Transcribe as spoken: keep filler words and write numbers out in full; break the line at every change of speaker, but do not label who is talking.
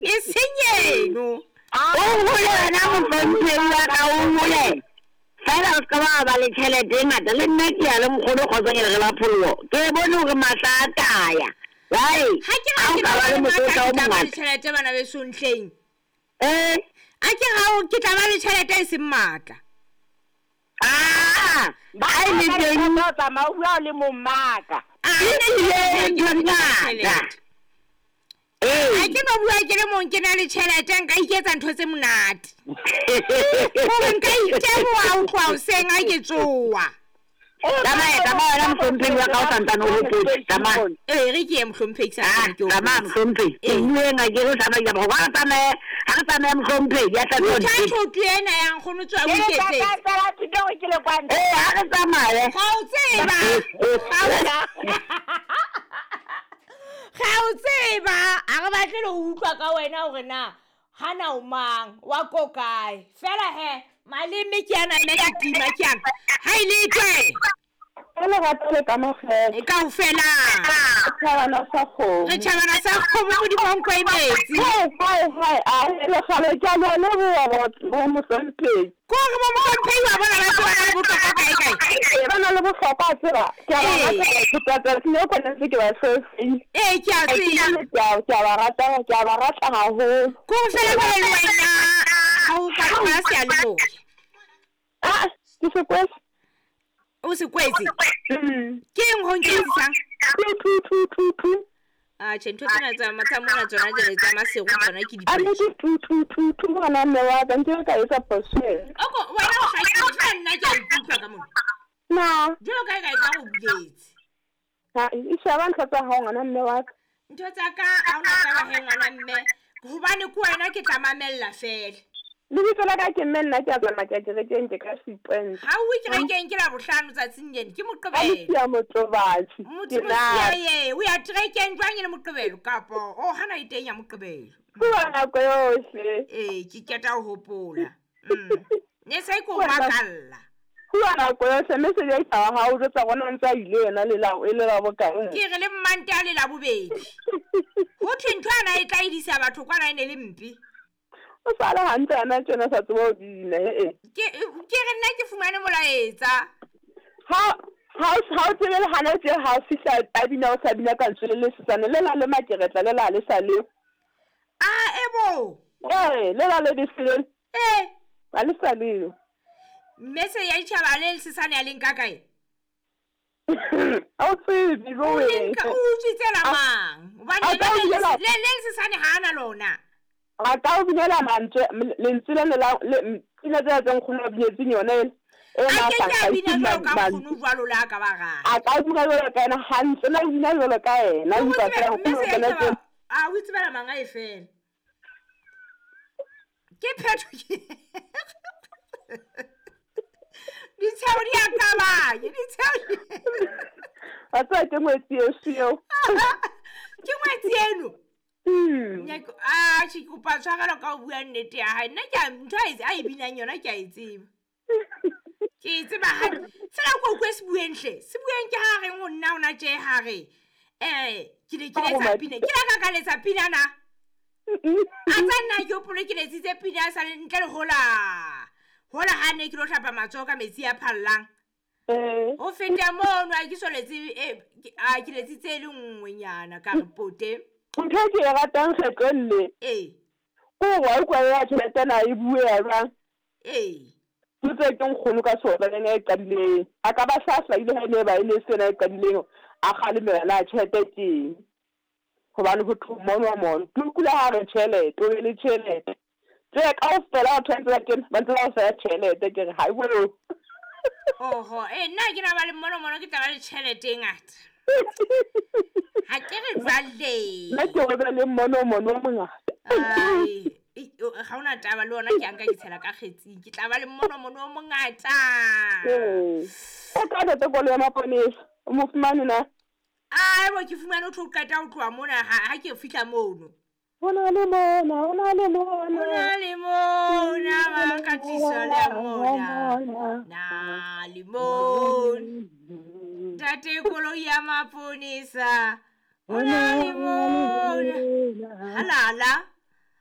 E seng eno.
O hole wena mohlomphehi wa ka, o hole. Fela o ska ba ba le tjhelete e ngata. Le nna ke ya le nkgono kgotsong re ba pholoho. Ke bone hore mahla a taya. Right.
Ha ke ra ke
ba le mokotla o
mongata
mongata.
Tjhelete bana beso ntleng.
Eh,
a ke ga o ke tla ba le tjhelete e seng matla.
Ah, ba e le teng
o tsamaya o bua le momaka.
Ah,
e le ntho ngata.
Ha ke no bua ke le mong ke na le tjhelete nka iketsa ntho tse monate. Hore nka iteboha ho tloha hoseng ha ke tsoha.
Tsamaya, tsamaya wena mohlomphehi wa ka o santsane o hopotse. Tsamaya.
Ee, re ke ye mohlomphehi sa
Ah,
ke o
tsamaya
hopotse.
mohlomphehi. Ke bueng ha ke re tsamaya ke re tsamaye, ha re tsamaye mohlomphehi ya tla
Utlwa
tswa.
thoto ena ya nkgono tswa o
Ke le
iketsetse.
tla tsela thuto hore ke le kwa ntle.
Eh, ha re tsamaye.
Ga o tseba. Ga o tseba, a re batle le ho utlwa ka wena hore na hana o mang, wa ko kae. Fela he, maleme ke ana mme ke tima ke ana. Ha e le tswe.
Ka lerato le kamohelo.
E kaofela.
Tjhabana sa kgomo.
Re tjhabana sa kgomo modimo wa nkwa e metsi.
Hai, hai, hai, a le kgale ke a le leboha bo mohlomphehi.
Ke hore bo mohlomphehi wa bona ba tseba ba le bohlokwa kae kae.
Ee, ba na le bohlokwa a tseba. Ke a ba
Ee.
rata batho tsa tsatsi le kona ntse ke ba hloetseng.
Ee, ke a tseba.
Ke a ke a ba rata, ke a ba rata haholo.
Ke hore fela jwale le wena ha o ka ba seyalemoya.
Ah, ke se kwetse.
O se kwetse?
Mm.
Ke eng ho nketsisang?
Two, two, two, two, two.
Ah, tjhe, ntho tsena tsa tsa mona tsona jwale tsa masego tsona ke
A
dipotso.
nnete two, two, two, two, ngwana mme wa ka, nke ka etsa phoso ena.
Oko, wena o hlakile, fela nna ke a ikutlwa ka mona.
Na.
Jwalo ka ha e ka e tla go buletse.
Ha, e sheba ntho tsa hao ngwana mme wa ka.
Ntho tsa ka ha hona taba he ngwana mme, hobane ke wena ke tla mamella fela.
Lebitso la ka ke mme nna ke a tsamaya ke ya kerekeng ke ka sequence.
Ha o kerekeng ke Labohlano tsatsing lena, ke
Ka
Moqebelo.
Mosia Motobatsi,
Motho
ke na.
Mosia ye, o ya kerekeng jwang e le Moqebelo kapo o hana e teng ya Moqebelo.
Bua nako yohle.
Ee, ke qeta ho hopola. Mm. Ne se ke o
Bua nako-
makalla.
Bua nako yohle, mme se ya wa hao jwetsa bona ntse a ile yena le la e le la bokae.
Ke re le mmante a le Labobedi. Ho thwe ntho ana e tla edisa batho kwana e ne le mpe.
O sa le hantle ana tjena sa tseba ho bina, eh, eh.
Ke ke re nna ke fumane molaetsa.
Ha ha ha o tsebe le hana tje ha o fihla a bina o sa bina ka lentswe le le sesane, le la le makeretla, le la le sa leo.
Ah, ebo.
Eh, le la le bese.
Eh.
Ha le sa leo.
Mme se ya ditjhaba le le sesane ya leng ka kae?
Ha o tsebe,
O
bo
le nka, o utswitse la
A-
mang? Hobane
a
le
ka o
le
binela-
le le sesane ha ana lona.
A ka o binela mantswe, m-, lentswe le le la, le, m-, pina tsena tse nkgono a binetseng yona ele, e
A
na
ke
sa
ke a
hlahise
bina jwalo ka
mantswe.
nkgono jwalo le ha ka ba rata.
A ka bina jwalo ka ena hantle, na o bina jwalo ka ena,
O
o utlwa
tsebe,
feela
mme
nkgono
se
o kena
ya
teng.
tshaba, a o itsebela mang a e fela. Ke phetho ke. Ditshebo di a qabanya, ditshebo di-
Wa tseba ke ngwetsi eso eo.
Ke ngwetsi eno?
Hmm.
Nyako, ah, tjhe, ke kopa tshwarelo ka ho bua nnete ya hae. Nna ke a, ntho a e, a e binang yona ke a e tseba. Ke e tseba hantle. Fela ko utlwe se bueng hle. Se bueng ke ha reng ho nna hona tje ha re, eh, ke ne ke
Ka ho
letsa
mathe.
pina. Ke la ka ka letsa pina na? A tsa nna ke hopole ke letsitse pina sa le ntle le hola. Hola ha ne ke lo hlapa matsoho ka metsi a phallang.
Eh.
Ho feta mono ha ke so letse, eh, ke, a, ke letsitse e le nngwe nyana ka re pote.
Ntho e ke e ratang kgetlong le.
Ee.
Ke hore wa utlwa ya tjhelete ena e bue ya jwang?
Ee.
Ntho e ke nkgono ka sona le ena e qadileng. A ka ba sa hlahile ha e ne ba e le sena e qadileng, a kgalemela na tjhelete ke eng. Hobane ho thwe mono mono. Ke utlwile ha re tjhelete, o be le tjhelete. Tje kaofela batho ba ntse ba kena, ba ntse ba o feha tjhelete, ke re ha e bue.
Oho, eh, nna ke na ba le mono mono ke tla ba le tjhelete e ngata. Ha ke re jwale.
Nna ke o be le mono mono o mongata.
Ai, e, o, ha hona taba le ona ke a nka ke tshela ka kgetsing. Ke tla ba le mono mono o mongata.
Ee. O ka ntate koloi ya maponesa, o mo fumane na?
Ai, bo ke fumane o tlo qeta ho tloha mona ha, ha ke fihla mono.
Ho na le mona, ho na le mona.
Ho na le mona, ba ka tliso le mona. Na le mona. Ntate koloi ya maponesa. Ho na le mona. Halala.